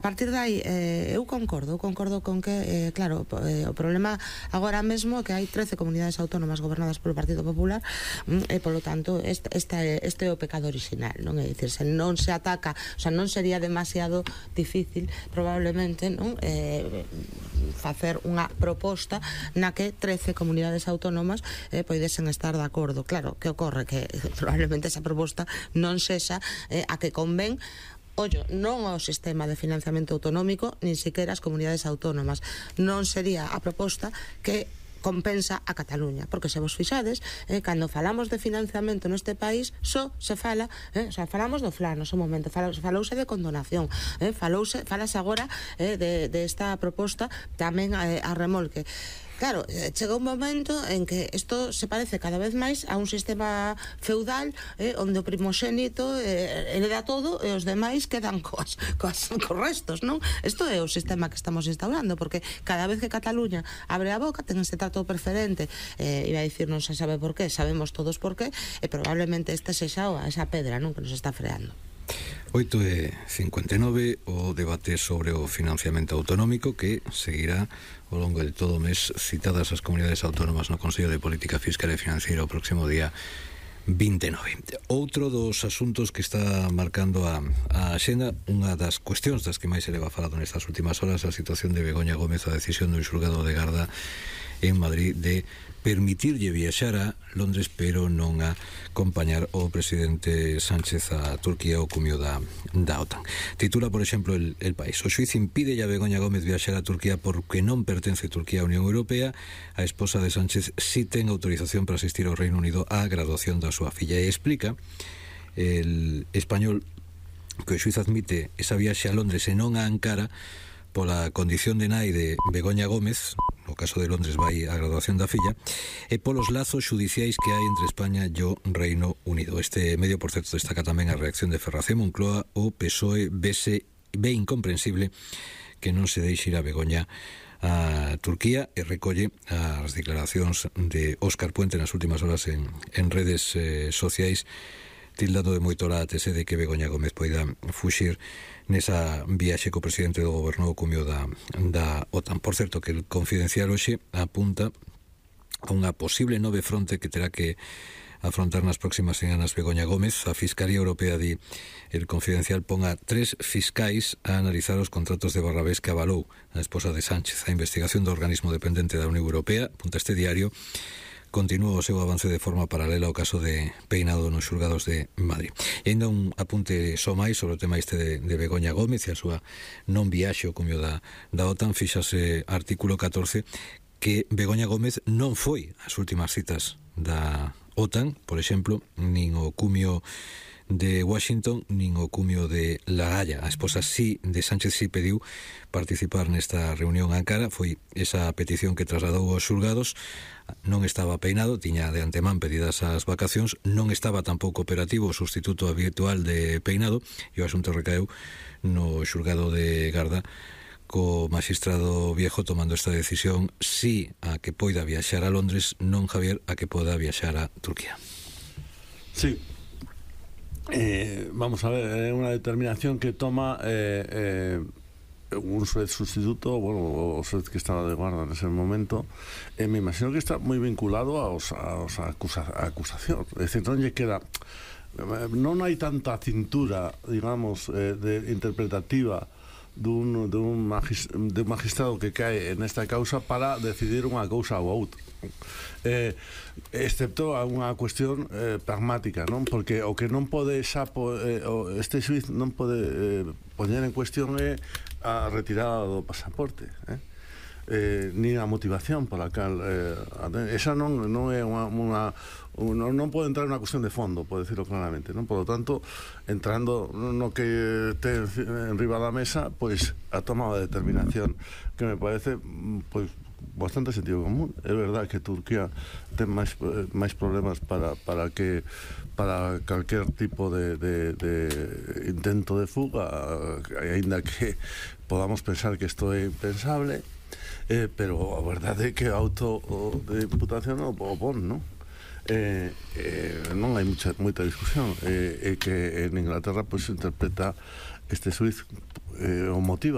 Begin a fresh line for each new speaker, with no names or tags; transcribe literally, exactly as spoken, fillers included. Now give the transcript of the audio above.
A partir de aí, eh, eu concordo, eu concordo con que, eh, claro, eh, o problema agora mesmo é que hai trece comunidades autónomas gobernadas polo Partido Popular e, polo tanto, este, este, este é o pecado original, non? É dicir, se non se ataca, o sea, non sería demasiado difícil, probablemente, non? Eh, facer unha proposta na que trece comunidades autónomas eh, poidesen estar de acordo. Claro, que ocorre? Que probablemente esa proposta non sexa eh, a que convén ollo, non ao sistema de financiamento autonómico, nin sequera as comunidades autónomas. Non sería a proposta que compensa a Cataluña, porque se vos fixades, eh, cando falamos de financiamento neste país, só se fala, eh, o sea, falamos do Fla no seu momento, fala, falouse de condonación, eh, falouse, falase agora eh, de, de esta proposta tamén eh, a remolque. Claro, chega un momento en que isto se parece cada vez máis a un sistema feudal eh, onde o primogénito eh, hereda todo e os demais quedan coas, coas, cos restos, non? Isto é o sistema que estamos instaurando, porque cada vez que Cataluña abre a boca ten ese trato preferente, eh, iba a dicir non se sabe por qué, sabemos todos por qué, e probablemente esta sexa esa pedra, non, que nos está freando.
oito e cincuenta e nove, o debate sobre o financiamento autonómico que seguirá ao longo de todo o mes, citadas as comunidades autónomas no Consello de Política Fiscal e Financiera o próximo día vinte e nove. Outro dos asuntos que está marcando a, a axenda, unha das cuestións das que máis se leva falado nestas últimas horas, a situación de Begoña Gómez, a decisión do xulgado de Garda en Madrid de permitirlle viaxar a Londres, pero non a acompañar o presidente Sánchez a Turquía o cumio da, da OTAN. Titula, por exemplo, el, el País: o xuiz impide a Begoña Gómez viaxar a Turquía porque non pertence Turquía á Unión Europea. A esposa de Sánchez si ten autorización para asistir ao Reino Unido á graduación da súa filla, e explica el Español que o xuiz admite esa viaxe a Londres e non a Ankara pola condición de nai de Begoña Gómez, no caso de Londres vai a graduación da filla, e polos lazos xudiciais que hai entre España e o Reino Unido. Este medio, por certo, destaca tamén a reacción de Ferracén Moncloa. O P S O E vese, ve incomprensible que non se deixe ir a Begoña a Turquía, e recolle as declaracións de Óscar Puente nas últimas horas en, en redes eh, sociais, tildado de moito látese de que Begoña Gómez poida fuxir nesa viaxe co presidente do goberno o cumio da, da OTAN. Por certo, que el Confidencial hoxe apunta a unha posible nove fronte que terá que afrontar nas próximas semanas Begoña Gómez. A Fiscalía Europea, di el Confidencial, pon a tres fiscais a analizar os contratos de Barrabés que avalou a esposa de Sánchez. A investigación do organismo dependente da Unión Europea, apunta este diario, continúa o seu avance de forma paralela ao caso de Peinado nos xulgados de Madrid. E ainda un apunte só máis sobre o tema este de, de Begoña Gómez e a súa non viaxe ao cumio da, da OTAN. Fíxase artículo catorce que Begoña Gómez non foi ás últimas citas da OTAN, por exemplo, nin o cumio de Washington nin o cumio de La Haya. A esposa sí de Sánchez sí pediu participar nesta reunión en Ankara. Foi esa petición que trasladou aos xulgados. Non estaba Peinado, tiña de antemán pedidas as vacacións, non estaba tampouco operativo o sustituto habitual de Peinado, e o asunto recaeu no xulgado de Garda, co magistrado Viejo tomando esta decisión sí a que poida viaxar a Londres, non, Javier, a que poda viaxar a Turquía.
Sí. Eh, vamos a ver, é unha determinación que toma eh, eh, un juez sustituto, bueno, o juez que estaba de guarda nese momento, e eh, me imagino que está moi vinculado aos, aos acusa, a acusación. É dicir, non lle queda, non hai tanta cintura, digamos, eh, de interpretativa dun, dun, magis, dun magistrado que cae en esta causa para decidir unha cousa ou outra, eh, excepto a unha cuestión eh, pragmática, non? Porque o que non pode xa po, eh, este xuiz non pode eh, poñer en cuestión é a retirada do pasaporte, eh? Eh, nin a motivación pola cal eh, esa non, non é unha, unha non, non pode entrar unha cuestión de fondo, pode decirlo claramente, non? Por lo tanto, entrando no que ten en riba da mesa, pois a tomada de determinación que me parece pois bastante sentido común. É verdad que Turquía ten máis, máis problemas para, para que para calquer tipo de, de, de intento de fuga, aínda que podamos pensar que isto é impensable, eh, pero a verdade é que a auto de imputación o pon, non? Eh, eh, non hai mucha, moita discusión, eh, é que en Inglaterra pois se interpreta este xuiz eh, o motiva